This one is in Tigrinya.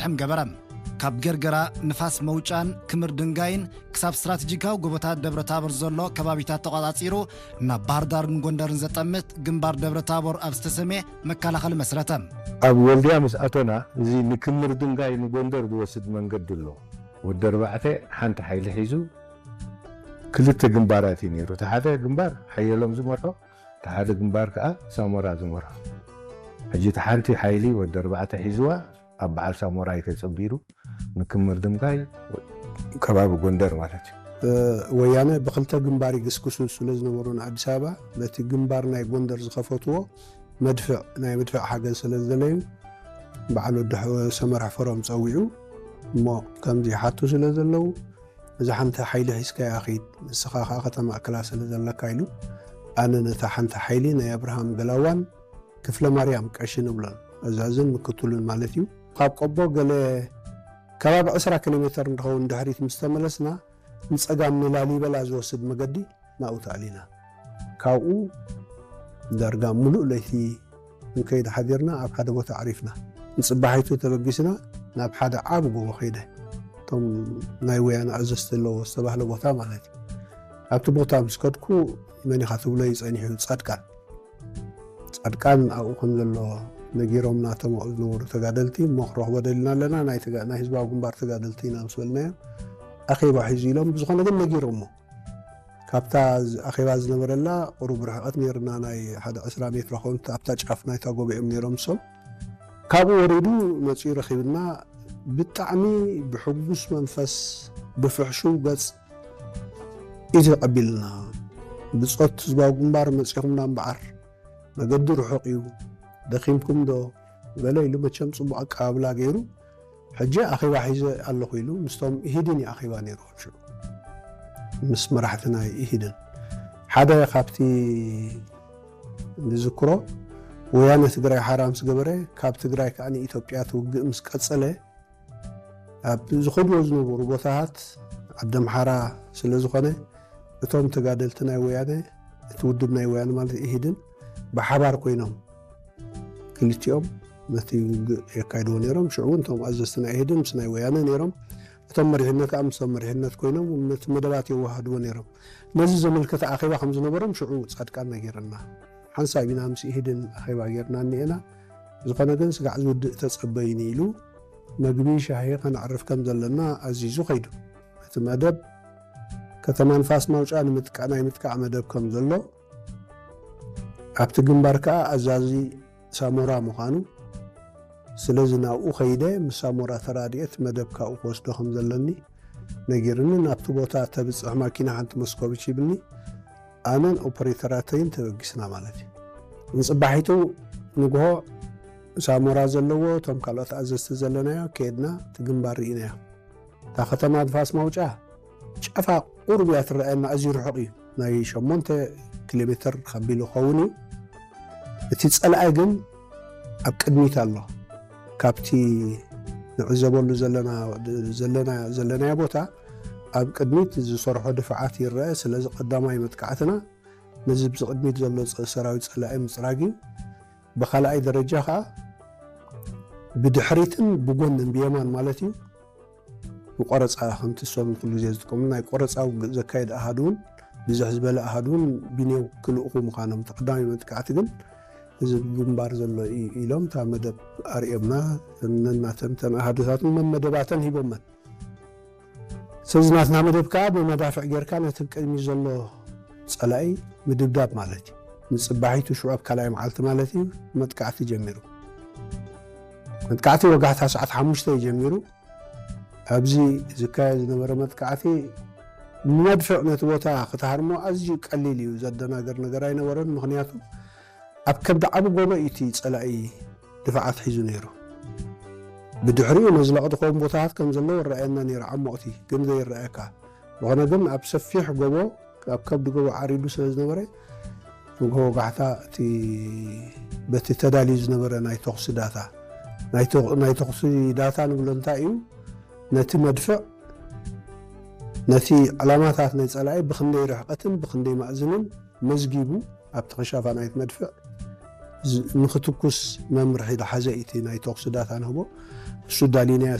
ሕም ገበረ። ካብ ገርገራ፣ ንፋስ መውጫን ክምር ድንጋይን ክሳብ ስትራቴጂካዊ ጎቦታት ደብረ ታቦር ዘሎ ከባቢታት ተቋጻጺሩ፣ ናብ ባህር ዳርን ጎንደርን ዘጠምት ግንባር ደብረ ታቦር ኣብ ዝተሰምየ መከላኸሊ መስረተ። ኣብ ወልድያ ምስ ኣቶና፣ እዚ ንክምር ድንጋይ ንጎንደር ዝወስድ መንገዲ ኣሎ። ወዲ ኣርባዕተ ሓንቲ ሓይሊ ሒዙ ክልተ ግንባራት እዩ ነይሩ። እቲ ሓደ ግንባር ሓየሎም ዝመርሖ፣ እቲ ሓደ ግንባር ከዓ ሳሞራ ዝመርሖ። ሕጂ እቲ ሓንቲ ሓይሊ ወዲ ኣርባዕተ ሒዝዋ ኣብ በዓል ሳሞራ እዩ ተጸንቢሩ፣ ንክምር ድንጋይ ከባቢ ጎንደር ማለት እዩ። እ፣ ወያነ ብክልተ ግንባር ይግስግሱ ስለ ዝነበሩ ንኣዲስ ኣበባ፣ በቲ ግንባር ናይ ጎንደር ዝኸፈትዎ መድፍዕ፣ ናይ መድፍዕ ሓገዝ ስለ ዝደለዩ፣ በዓል ወዲ ሕ-፣ ሰመር ሕፈሮም ጸዊዑ፣ እሞ ከምዚ ይሓቱ ስለ ዘለዉ፣ እዛ ሓንቲ ሓይሊ ሒዝካያ ኺድ፣ ንስኻ ኸኣ ከተማእክላ ስለ ዘለካ ኢሉ፣ ኣነ ነታ ሓንቲ ሓይሊ ናይ ኣብርሃም ገላዋን ክፍለ ማርያም ቀሺ ንብሎን፣ ኣዛዝን ምክትሉን ማለት እዩ። ካብ ቆቦ ገለ ከባቢ ዕስራ ኪሎ ሜተር እንድኸውን ድሕሪት ምስ ተመለስና፣ ንጸጋም ንላሊበላ ዝወስድ መገዲ ናብኡ ተኣሊና። ካብኡ ዳርጋ ምሉእ ለይቲ ክንከይድ ሓዲርና ኣብ ሓደ ቦታ ኣዕሪፍና። ንጽባሒቱ ተበጊስና ናብ ሓደ ዓቢ ጎቦ ከይደ። እቶም ናይ ወያነ ኣዘዝቲ ኣለዎ ዝተባህለ ቦታ ማለት እዩ። ኣብቲ ቦታ ምስ ከድኩ መን ኢኻ ትብሎ እዩ ጸኒሑ፣ ጻድቃን። ጻድቃን ኣብኡ ከም ዘሎ ነጊሮምና እቶም ኣብኡ ዝነበሩ ተጋደልቲ፣ እሞ ክንረኽቦ ደሊና ኣለና፣ ናይ ተጋ-፣ ናይ ህዝባዊ ግንባር ተጋደልቲ ኢና ምስ በልናዮም፣ ኣኼባ ሒዙ ኢሎም፣ ብዝኾነ ግን ነጊሮሞ። ካብታ ዝ-፣ ኣኼባ ዝነበረላ ቁሩብ ርሕቐት ነይርና፣ ናይ ሓደ ዕስራ ሜትሮ ኸውን ኣብታ ጫፍ ናይታ ጎቦ እዮም ነይሮም እሶም። ካብኡ ወሪዱ መጺኡ ረኺብና፣ ብጣዕሚ ብሕጉስ መንፈስ፣ ብፍሕሹው ገጽ እዩ ተቐቢልና። ብጾት ህዝባዊ ግንባር መጺኹምና እምበኣር፣ መገዲ ርሑቕ እዩ፣ ደኺምኩም ዶ? ገለ ኢሉ መቸም ጽቡቕ ኣቀባብላ ገይሩ፣ ሕጂ ኣኼባ ሒዘ ኣለኹ ኢሉ ምስቶም ኢሂድን እዩ ኣኼባ ነይሩ ሽዑ። ምስ መራሕቲ ናይ ኢሂድን። ሓደ ካብቲ ዝዝክሮ፣ ወያነ ትግራይ ሓራ ምስ ገበረ፣ ካብ ትግራይ ከኣ ንኢትዮጵያ ትውግእ ምስ ቀጸለ፣ ኣብ ዝኸድዎ ዝነበሩ ቦታታት ዓዲ ኣምሓራ ስለ ዝኾነ፣ እቶም ተጋደልቲ ናይ ወያነ፣ እቲ ውድብ ናይ ወያነ ማለት ኢሂድን፣ ብሓባር ኮይኖም ክልቲኦም ነቲ ውግእ የካይድዎ ነይሮም። ሽዑ እውን እቶም ኣዘዝቲ ናይ ኢሂድን ምስ ናይ ወያነ ነይሮም። እቶም መሪሕነት ከዓ ምስቶም መሪሕነት ኮይኖም ነቲ መደባት የወሃድዎ ነይሮም። ነዚ ዘመልከተ ኣኼባ ከም ዝነበሮም ሽዑ ጻድቃን ነጊርና። ሓንሳብ ኢና ምስ ኢሂድን ኣኼባ ጌርና እኒኤና። ዝኾነ ግን ስጋዕ ዝውድእ ተጸበይኒ ኢሉ፣ መግቢ ሻሂ ከነዕርፍ ከም ዘለና ኣዚዙ ከይዱ። እቲ መደብ ከተማ ንፋስ ማውጫ ንምጥቃ-፣ ናይ ምጥቃዕ መደብ ከም ዘሎ፣ ኣብቲ ግንባር ከኣ ኣዛዚ ሳሞራ ምዃኑ፣ ስለዚ ናብኡ ከይደ ምስ ሳሞራ ተራዲኤ እቲ መደብ ካብኡ ክወስዶ ከም ዘለኒ ነጊርኒ፣ ናብቲ ቦታ ተብጽሕ ማኪና ሓንቲ መስኮቪች ሂብኒ፣ ኣነን ኦፐሬተራተይን ተበጊስና ማለት እዩ። ንጽባሒቱ ንግሆ ሳሞራ ዘለዎ፣ እቶም ካልኦት ኣዘዝቲ ዘለናዮ፣ ከየድና እቲ ግንባር ርኢናዮ። እታ ከተማ ንፋስ ማውጫ ጫፋ ቁሩብ እያ ትረኣየና፣ ኣዝዩ ርሑቕ እዩ። ናይ ሸሞንተ ኪሎ ሜትር ከቢሉ ክኸውን እዩ። እቲ ጸላኢ ግን ኣብ ቅድሚት ኣሎ። ካብቲ ንዕዘበሉ ዘለና፣ ዘለና፣ ዘለናዮ ቦታ ኣብ ቅድሚት ዝሰርሖ ድፍዓት ይረአ። ስለዚ ቀዳማይ መጥቃዕትና ነዚ ብዚ ቅድሚት ዘሎ ጸ-፣ ሰራዊት ጸላኢ ምጽራግ እዩ። ብኻልኣይ ደረጃ ከኣ ብድሕሪትን ብጎንን ብየማን ማለት እዩ፣ ብቆረጻ ከምቲ እሶም ኩሉ ግዜ ዝጥቀሙ ናይ ቆረጻ ውግእ ዘካየድ ኣሃዱ እውን ብዝሕ ዝበለ ኣሃዱ እውን ብኔው ክልእኹ ምዃኖም፣ እቲ ቀዳማይ መጥቃዕቲ ግን እዚ ግንባር ዘሎ እዩ ኢሎም እታ መደብ ኣርእዮምና። ነናተን እተን ኣሃዱታት እውን መመደባተን ሂቦመን። ስለዚ ናትና መደብ ከኣ ብመዳፍዕ ጌርካ ነቲ ቅድሚ ዘሎ ጸላኢ ምድብዳብ ማለት እዩ። ንጽባሒቱ ሽዑ ኣብ ካልኣይ መዓልቲ ማለት እዩ መጥቃዕቲ ጀሚሩ። መጥቃዕቲ ወጋሕታ ሰዓት ሓሙሽተ እዩ ጀሚሩ። ኣብዚ ዝካየድ ዝነበረ መጥቃዕቲ መድፍዕ ነቲ ቦታ ክትሃርሞ ኣዝዩ ቀሊል እዩ፣ ዘደናገር ነገር ኣይነበረን። ምኽንያቱ ኣብ ከብዲ ዓቢ ጎቦ እዩ እቲ ጸላኢ ድፍዓት ሒዙ ነይሩ። ብድሕሪኡ ነዚ ለቕጥኾም ቦታታት ከም ዘለዉ ይረኣየና ነይሩ፣ ዓሞቕቲ ግን ዘይረኣየካ። ዝኾነ ግን ኣብ ሰፊሕ ጎቦ፣ ኣብ ከብዲ ጎቦ ዓሪዱ ስለ ዝነበረ፣ ንግሆ ወጋሕታ እቲ በቲ ተዳልዩ ዝነበረ ናይ ተኹሲ ዳታ፣ ናይ ተ-፣ ናይ ተኹሲ ዳታ ንብሎ እንታይ እዩ? ነቲ መድፍዕ፣ ነቲ ዕላማታት ናይ ጸላኢ ብኽንደይ ርሕቀትን ብኽንደይ ማእዝንን መዝጊቡ፣ ኣብቲ ኸሻፋ ናይቲ መድፍዕ ዝ-፣ ንኽትኩስ መምርሒ ዝሓዘ እዩ እቲ ናይ ተኹሲ ዳታ ንህቦ። እቲ እሱ ዳሊናዮ